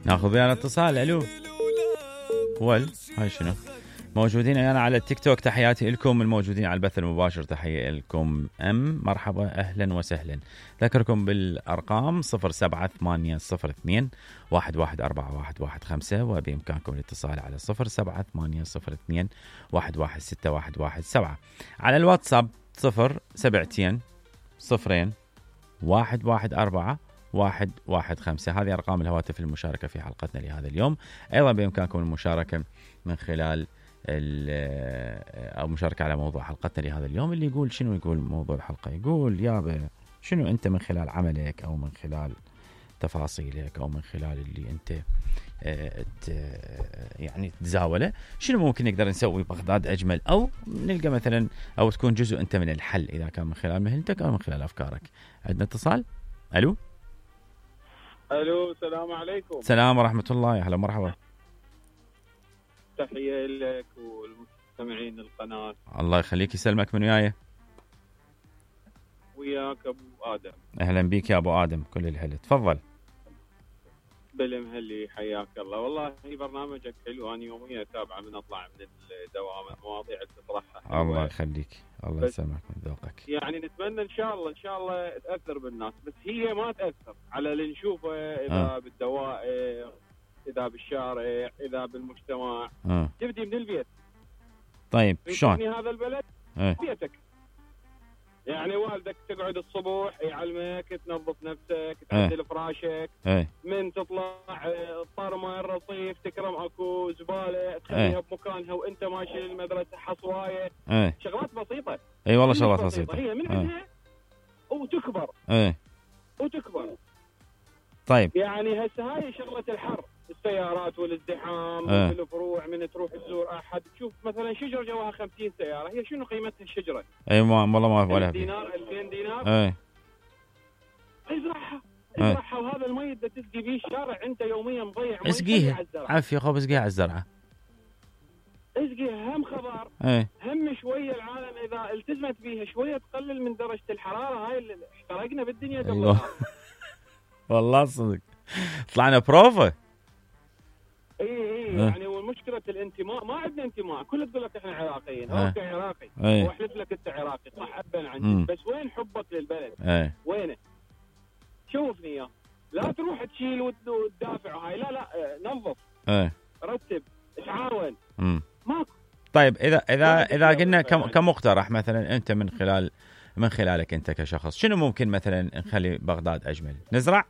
ناخذ ويانا اتصال. الو هاي شنو موجودين انا على التيك توك. تحياتي لكم الموجودين على البث المباشر. تحية لكم مرحبا اهلا وسهلا. ذكركم بالارقام 07802 114115 وبامكانكم الاتصال على 07802 116117. على الواتساب 072 0 114 115. هذه أرقام الهواتف المشاركة في حلقتنا لهذا اليوم. أيضا بإمكانكم المشاركة من خلال أو مشاركة على موضوع حلقتنا لهذا اليوم. اللي يقول شنو يقول موضوع الحلقة، يقول يابا شنو أنت من خلال عملك أو من خلال تفاصيلك أو من خلال اللي أنت يعني تزاوله، شنو ممكن نقدر نسوي بغداد أجمل، أو نلقى مثلا أو تكون جزء أنت من الحل إذا كان من خلال مهنتك أو من خلال أفكارك. عندنا اتصال. ألو السلام عليكم. السلام ورحمة الله. يا هلا مرحبا. تحية لك والمستمعين القناة. الله يخليك يسلمك. من وياك أبو آدم. أهلا بيك يا أبو آدم. كل الحلو. تفضل. بالمهلي حياك الله. والله برنامجك حلو. أنا يوميا أتابعه من أطلع من الدوام. المواضيع اللي تطرحها الله يخليك. الله يسلمك من ذوقك. يعني نتمنى إن شاء الله تأثر بالناس، بس هي ما تأثر على اللي نشوفه إذا بالدوائر، إذا بالشارع، إذا بالمجتمع. تبدي من البيت. طيب شلون؟ هذا البلد بيتك. يعني والدك تقعد الصبح يعلمك تنظف نفسك، تعدل فراشك، من تطلع الطرمه الرصيف تكرم اكو زباله تخليها بمكانها وانت ماشي للمدرسه، حصوايه، شغلات بسيطه. اي والله شغلات بسيطه. هي من عندها وتكبر. وتكبر. طيب يعني هسه هاي شغله الحر، السيارات والازدحام والفروع، من تروح تزور احد تشوف مثلا شجره جواها 50 سياره، هي شنو قيمتها الشجره؟ اي والله ما ولا دينار 2000 دينار. ازرعها وهذا المي اللي تسقي بيه الشارع انت يوميا مضيع مي. اسقيها عافيه خب، اسقيها على الزرعه. اسقيها هم خضار. هم شويه العالم اذا التزمت بيها شويه تقلل من درجه الحراره هاي اللي احترقنا بالدنيا قبل. والله صدق طلعنا بروفه. يعني والمشكله الانتماء، ما عندنا انتماء. كل تقول لك احنا عراقيين. اوكي عراقي واحلف لك انت عراقي صح ابا عندي، بس وين حبك للبلد؟ وينه؟ شوفني اياه. لا تروح تشيل وتدافع هاي، لا نظف، رتب، تعاون. ماكو. طيب اذا قلنا كمقترح مثلا انت من خلالك انت كشخص، شنو ممكن مثلا نخلي بغداد اجمل؟ نزرع